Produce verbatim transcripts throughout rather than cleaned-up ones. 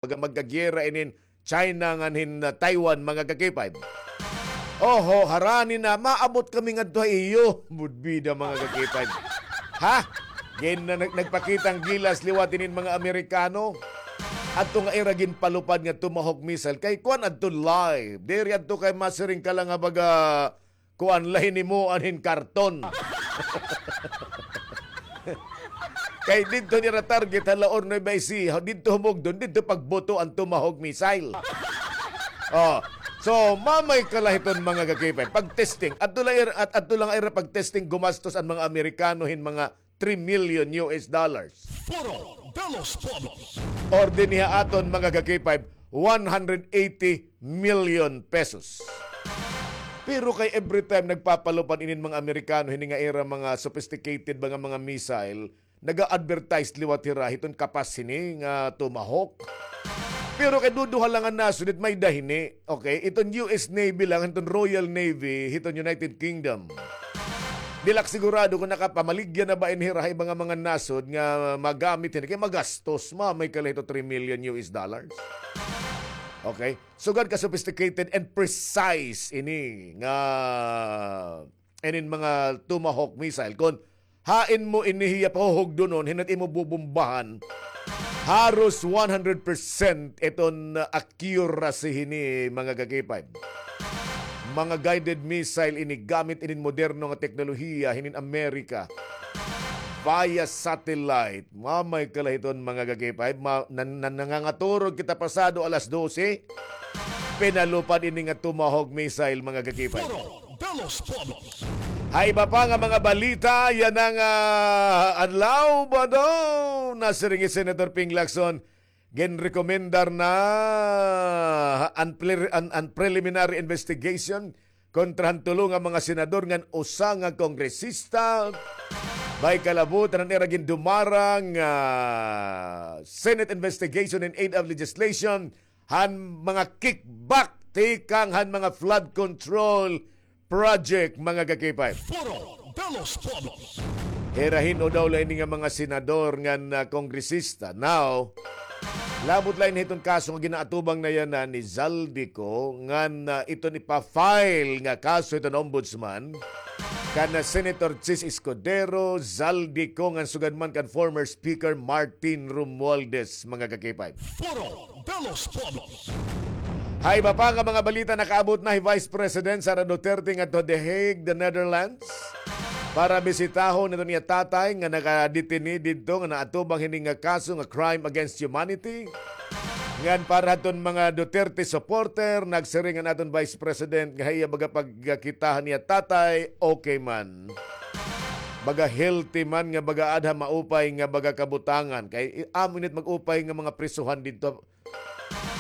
Baga magkagyera inin China ngan hin, ah, Taiwan, mga ka-K five. Oho, harani na, maabot kami ngadto ha iyo. Budbida, mga ka-K five. Ha? Gin-, na, nag-, nagpakita an gilas liwat inin mga Amerikano. Adto nga ira ginpalupad nga Tomahawk missile. Kay kuan adto live. Diri adto kay masiring ka la nga baga kuan la hinimuan hin karton. Kay didto nira target ha Laor, Nueva Ecija, didto humugdon, didto pagbuto an Tomahawk missile. Oh. So, mamay ka la hiton mga ka-K five. Pag-testing, adto la ir-, at, adto la nga ira pag-testing, gumastos an mga Amerikano hin mga three million U S dollars. Foro de los Pueblos. Or dinhi ha aton mga ka-K five, one hundred eighty million pesos. Pero kay every time nagpapalupad inin mga Amerikano hini nga ira mga sophisticated ba nga mga missile, naga-advertise liwat hira hiton kapas hini nga Tomahawk. Pero kay duduha la nga nasod it may-ada hini. Okay, iton U S Navy lang, hiton Royal Navy, hiton United Kingdom. Diri la ak sigurado kon nakapamaligya na ba ini hira ha iba nga mga nasod nga magamit hini. Kay magastos, mamay ka la hito three million U S dollars. Okay? Sugad ka sophisticated and precise ini nga inin mga Tomahawk missile. Kon hain mo ini hiya pahuhugdonon, hin it imo bubombahan, haros one hundred percent iton, uh, accuracy hini, mga ka-K five. Mga guided missile ini gamit inin moderno nga teknolohiya hinin Amerika. Via satellite. Mamay ka la hiton, mga ka-K five. Ma-, nan-, nan-, nangangaturog kita pasado alas dose. Pinalupad ini nga Tomahawk missile, mga ka-K five. Foro de los Pueblos. Ha iba pa nga mga balita, yana nga, ah, adlaw ba daw? Nasiring hi Senator Ping Lacson, ginrekomendar na an, pre-, an, an preliminary investigation kontra han tulo nga mga senador ngan usa nga kongresista. May kalabutan an ira gindumarang, ah, Senate investigation in aid of legislation han mga kickback tikang han mga flood control project, mga ka-K five. Foro de los Pueblos. Hira hin-o daw la ini nga mga senador ngan, ah, kongresista. Now, labot la ini hiton kaso nga ginaatubang na yana ni Zaldy Co ngan, ah, iton ipa-file nga kaso hiton ombudsman kan, ah, Senator Chiz Escudero, Zaldy Co ngan sugad man kan former Speaker Martin Romualdez, mga ka-K five. Foro de los Pueblos. Ha iba pa nga mga balita, nakaabot na hi Vice President Sara Duterte ngadto ha The Hague, The Netherlands, para bisitahon iton iya tatay nga nakadetene didto nga naatubang hini nga kaso nga crime against humanity. Ngan para hadton mga Duterte supporter, nagsiring an aton Vice President nga ha iya baga pagkakita han iya tatay, okay man. Baga healthy man nga baga aada ha maupay nga baga kabutangan. Kay, i-, amo ini it mag-upay nga mga prisuhan didto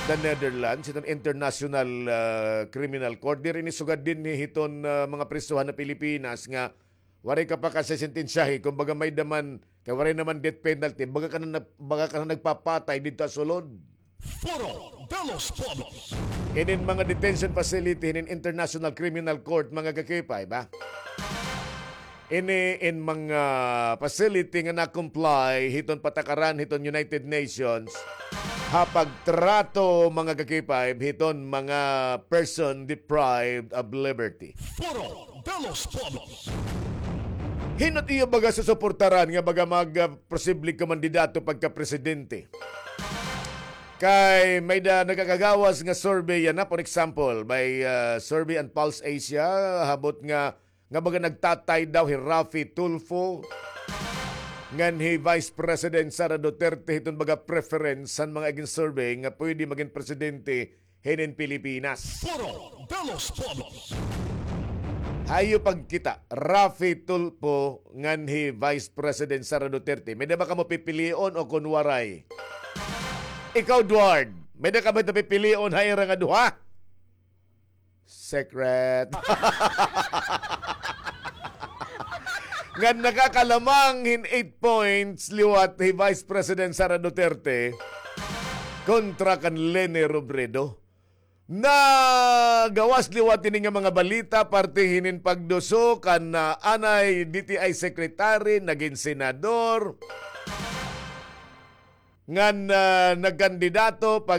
the Netherlands, iton International, ah, Criminal Court. Diri ini sugad dinhi hiton, ah, mga prisuhan ha Pilipinas nga waray ka pa kasesentensyahi, kumbaga may-ada man, kay waray naman death penalty, baga ka na, baga ka na nagpapatay didto ha sulod. Foro de los Pueblos. Inin mga detention facility hinin International Criminal Court, mga ka-K five, ha? Ini in mga facility nga na-comply hiton patakaran hiton United Nations ha pagtrato, mga ka-K five, hiton mga person deprived of liberty. Foro de los Pueblos. Hin-o it iyo baga susuportaran nga baga mag, ah, posibleng kandidato pagka-presidente? Kay may-ada nakakagawas nga survey yana, for example, may, ah, survey an Pulse Asia, habot nga, nga baga nagtatay daw hi Raffy Tulfo ngan hi Vice President Sara Duterte hiton baga preference han mga igin-survey nga pwede magin presidente hinin Pilipinas. Foro de los Pueblos. Ha iyo pagkita, Raffy Tulfo ngan hi Vice President Sara Duterte, may-ada ba kamo pipilion o kon waray? Ikaw, Duard, may-ada ka ba pipilion ha ira nga duha? Secret. Ngan nakakalamang hin eight points liwat hi Vice President Sara Duterte kontra kan Leni Robredo. Nagawas liwat ini nga mga balita parte hinin pagduso kan, ah, anay D T I secretary, nagin senador. ngan, ah, nagkandidato pa